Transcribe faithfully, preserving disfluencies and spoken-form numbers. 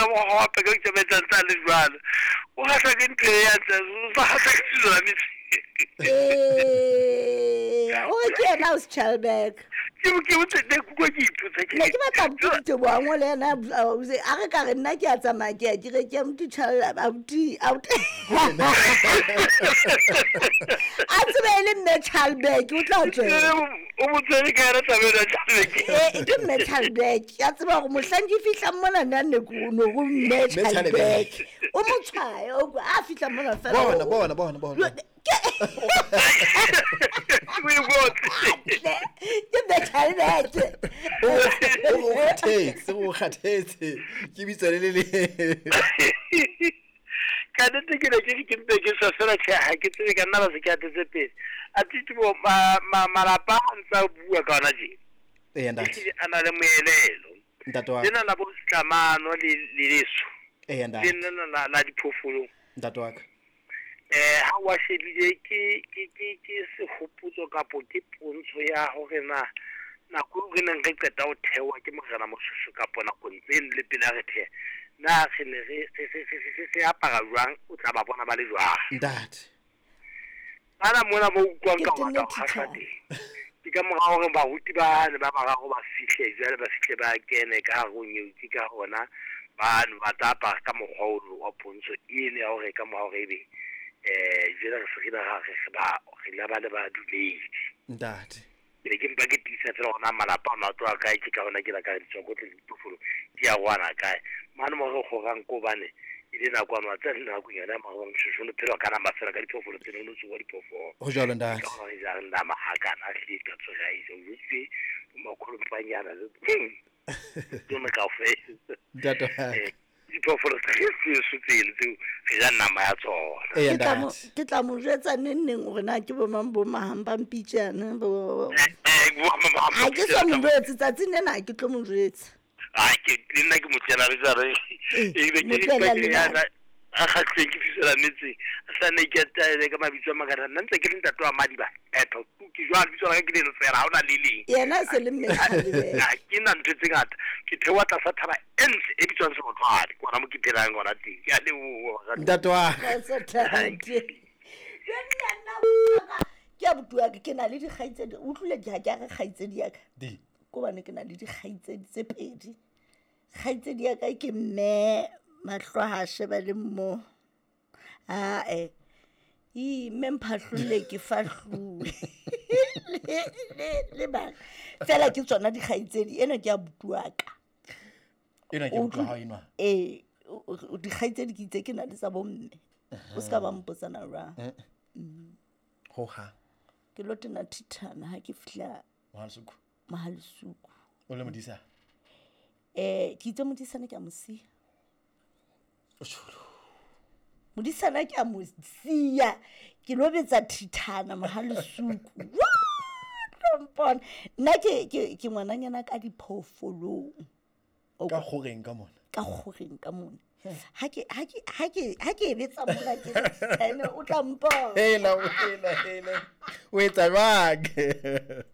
ka mokgwa wa peka o itsamaisa ntse a le jwalo. O kgahlwa ke ntho e ya ntse o sa kgahlwa ke Suzan. Ee, o re ke yena ausi Chalberg. Ke ke botse ne ke utlwa ke ipotsa ke Ne ke batla abuti Diteboho a ngole yena a re ka re nna ke a tsamaya ke ya ke re ke abuti Chal abuti abuti a tsebe e le mme Chalberg o tla tswela. O motswedi ka yona taba ena Chalberg. Ee, ke mme Chalberg ya tseba hore mohlang ke fihlang mona nna ne ke no go mme Mme Chalberg. Chalberg. O mo tshwaye o kwa a fihla mona fela. Bona o- bona bona bona. O e botse. Ke mme Chalberg. O o kgathetse, o kgathetse. Ke bitso le le le. Ka nnete ke ne ke re ke mpe ke swa fela tjhe ha ke tsebe ka nna ba se ke atetse pele. A Titibo malapa a ntse a bua ka ona tje. Eya ntate. Ehlile a na le moelelo. Ntate wa. Lena la bo Setlamano le le leso. Eya Le ntate. lena la la diphoofolong. Ntate wa ka. Eh ha wa shebile ke ke ke ke sehopotso kapo ke pontsho ya hore na nako eo re neng re qeta ho thewa ke Morena Moshoeshoe kapo nakong tseno le pele a re theha na re ne re re re re re apara jwang o tla ba bona ba le jwang. Ntate. Bana mona mo utlwang Ke ka ho tenne rata ho kgahlwa thithane. teng. Ke ka mora hore baruti ba ne ba bararo ba fihle jwale ba fihle ba kene ka hare ho nyeuti ka hona ba ne ba tla apara ka mokgwa ono wa pontsho eno ya hore ka mora hore ebe eh jwale re se re ba re ba re la ba le badumedi. Ntate. Ke ne ke mpa ke tiisa fela hore na malapa ana a tloha kae ke ka hona ke la ka ditswakotle le diphoofolo di a rwana kae. Mane mo re kgorang ko hobane e le nako ya matsatsi le nakong yona ya Morena Moshoeshoe o phela ka nama fela ka diphoofolo tseno o no tsoha diphoofolo. Ho jwalo ntate. Ka hona re jang nama hakana hlile ka tsoha e ja o jwetse bo makgolompanyana le tsona kaofela. Ntate wa ka. Eh, diphoofolo tsa heso tseno tseo re ja nama ya tsona. Eya Ke tla mo ntate. ke tla mo jwetsa neng neng hore na ke bo mang bo mahang ba mpitjana bo. Eh, eh, bo mang ba Ha ke so mo jwetse tsatsing lena ha ke tlo mo jwetsa. Ah, ke le nna ke mo tlela re tsa re. Ee, E be mo ke tlohela ke le yana bana. a kgahlileng ke fisola metseng. A sa ne ke ataele ka mabitso a mangata. Nna ntse ke le ntate wa Madiba. Etho ke jwalo lebitso la ka ke leno fela ha hona le leng. Yena e se le mme Chalberg. Ha ke na ntho tse ngata. Ke theoha tlasa thaba e ntle e bitswang Sebothwane. Ke hona mo ke phelang hona teng. Ke a leboha baratuwa. Ntate wa ka. Kgotso ntate. Jwanna nna ke abuti wa ka ke na le dikgaitsedi. O utlwile ke ha ke a re kgaitsedi ya ka. Di. Ke hobane ke na le dikgaitsedi tse pedi. Kgaitsedi ya ka ke mme mahlo ha sheba le mo. Ah eh. Ii mme mphahlolle ke fahluwe. Le le le bana. Fela ke tsona dikgaitsedi ena ke abuti wa ka. Ena ke abuti wa hao enwa. Ee, dikgaitsedi ke itse ke na le tsa bomme. O ska ba mpotsana jwang. Ho hang. Ke lo tena thithana ha ke fihla Mohalesuku. Mohalesuku. O le modisa? Eh, ke itse modisana ke a mo siya. O tjholo. Modisana ke a mo siya. Ke lo betsa thithana Mohalesuku. What? Mpona. Nna ke ke ke ngwananyana ka diphoofolong. Ka kgoreng ka mona. Ka kgoreng ka mona. Ha ke ha ke ha ke ha ke e betsa mona ke re thithane o tla mpona. Hela, hela, hela. O etsa jwang?